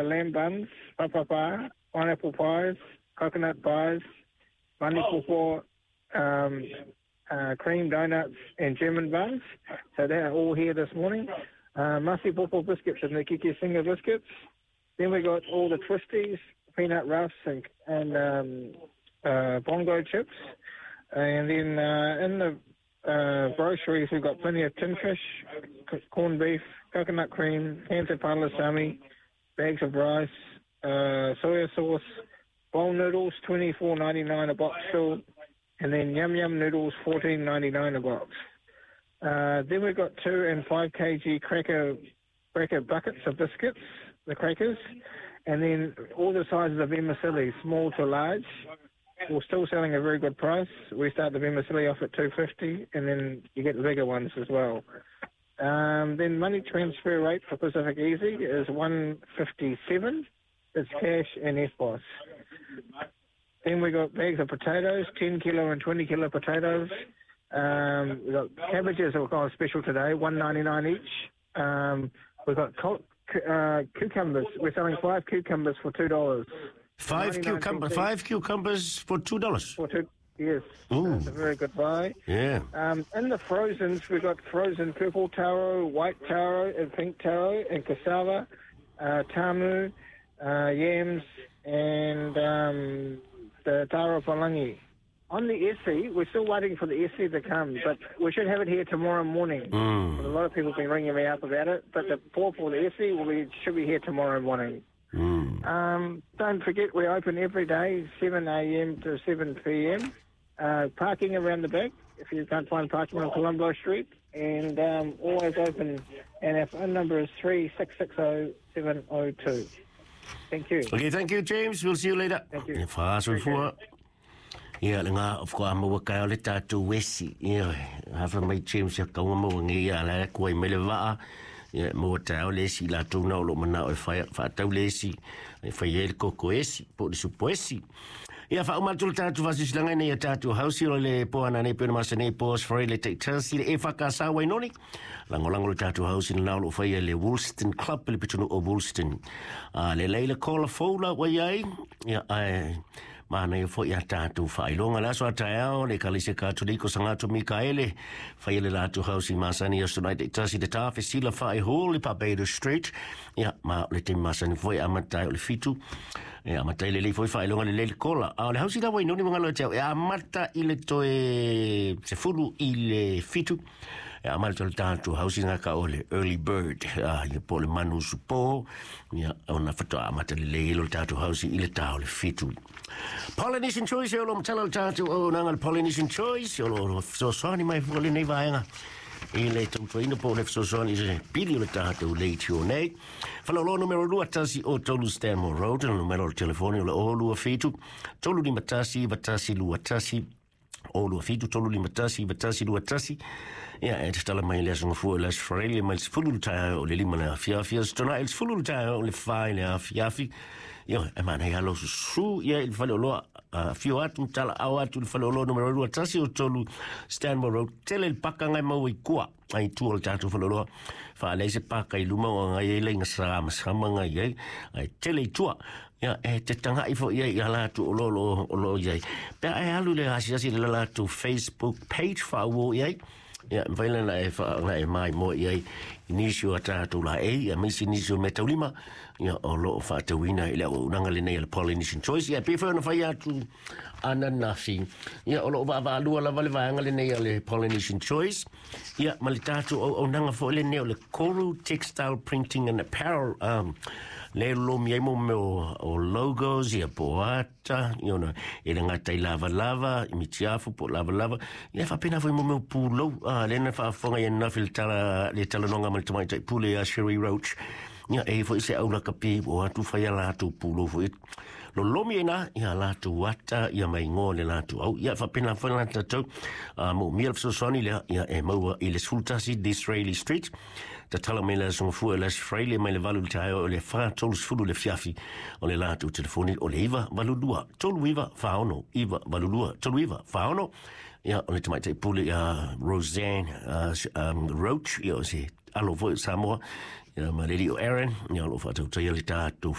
Lamb buns, papapa, pineapple pies, coconut pies, mani pawpaw, cream donuts and German buns. So they are all here this morning. Masi pawpaw biscuits and the Kiki Singer biscuits. Then we got all the twisties, peanut roughs and bongo chips. And then in the groceries, we've got plenty of tin fish, corned beef, coconut cream, cans of palusami, bags of rice, soya sauce, bowl noodles, $24.99 a box still, and then yum yum noodles, $14.99 a box. Then we've got 2 and 5 kg cracker buckets of biscuits, the crackers, and then all the sizes of vermicelli, small to large. We're still selling a very good price. We start the vermicelli off at $2.50, and then you get the bigger ones as well. Then money transfer rate for Pacific Easy is $1.57. It's cash and FBOS. Then we got bags of potatoes, 10 kilo and 20 kilo potatoes. We got cabbages that were kind of special today, $1.99 each. We've got cucumbers. We're selling 5 cucumbers for $2. 5 cucumbers for $2? For two, yes. That's a very good buy. Yeah. In the frozens, we've got frozen purple taro, white taro, and pink taro, and cassava, tamu, yams, and the taro palangi. On the esi, we're still waiting for the esi to come, but we should have it here tomorrow morning. A lot of people have been ringing me up about it, but the pawpaw, the esi, should be here tomorrow morning. Don't forget, we're open every day, 7 a.m. to 7 p.m. Parking around the back, if you can't find parking on Colombo Street, and always open. And our phone number is 3660702. Thank you. Okay, thank you, James. We'll see you later. Thank you. Ia, le ngā of ko amaua kai o le tātou wesi. Ia, hafa mai James ia kaunga maua ngi ia la kua i mele vaa. Ia, maua tāo le esi la tau na o lo mana o e whaatau le esi. E whai e le koko esi, po le supo esi. Ia, wha umatu le tātou whasisilanga nei a tātou hausi o le poana nei pena masa nei poas whare le teitasi le e whakasa wainoni. Langolango le tātou hausi na lo whai le Woolston Club le pitunu o Woolston. Le leila kola fola wai ai. Ia, ai... Mana ia foi a tātou whailonga le aso a taeao le kalise Katoliko Sangato Mikaele whai le lātou hausi masani aso nai te tasi te tāwhe sila whae hall i Barbados Street. Ia, ma le te masani foi a matai o le fitu. Ia, matai le lei foi whailonga le leile kola. A o le hausi la wainoni mangalo e te au e a mata i le toe se fulu i le fitu. Ia, amata le tātou hausi ngā ka o le early bird. Ia po le manu supo. Ia, ona whatoa amata le leilo le tātou hausi i le tāo le fitu. Polynesian Choice, o lo matala le tātou o nanga le Polynesian Choice, o lo fesoasoani mai fua lenei vaega i le tautuaina po o le fesoasoani i se pili o le tātou leitio nei. Whalauloa numero 2 o 3 Stanmore Road, le numero o le telefoni o le 0 27 351 91 21 o 27 351 91 21. Ia, e te tala mai le aso ngafua le aso wharele mai le sefulu le tae o le lima le afiafi, aso tona e le sefulu le tae o le whai le afiafi. Ia, e mana i alo susu, ia i le whale o loa, fio atu, tala au atu le whale o loa numero 2 o 3 Stanmore Road, tele le paka ngai mau i kua. Ai tua le tātou whale o loa, wha se paka i luma o ngai e leinga sa masama ngai ai, ai tele i tua. Ia, e te tanga ifo ia i ala atu o lo o lo ia. Pea e alu le asiasi le la atu Facebook page wha ua ia. Ia, mwaila na e wha ngai mai mo ia i nisi o tātou la e, ia meisi nisi o me taulima, ia o lo o whaatauina i le o unanga le nei le Polynesian Choice. Ia, pe whae ona whai atu ananafi. Ia, o lo o vaalua lava le vaanga le nei le Polynesian Choice. Ia, ma le tātou o unanga fo le nei o le Koru Textile Printing and Apparel. Le lo mi ai mo me o logos, ia po ata, ia ona, e le ngatai lava lava, i mitiafu po lava lava. Ia, whapena fo i mo me o pūlou. Le na whaafonga ia nafi le talanonga ma le tamaitai pule a Sherry Roach. Ia, e fo i se aula kapi o atu whai a lātou pūlou fo i. Lo lomi e nā, ia lātou ata, ia mai ngō le lātou au. Ia, whapena fo i lātou, mo mia le fesoasoani lea, ia e maua i le 11 Disraeli Street. Ta tala mai le asonga fua le Australia mai le valu le taeo o le 430 le fiafi o le lātou telefoni o le 9 82 39 40 9 82 39 40. Ia, o le tamaitai pule ia Roseanne Roach, ia o se alo foi Samoa, Ia ma le alii o Aaron, ia o loo faatautaia le tatou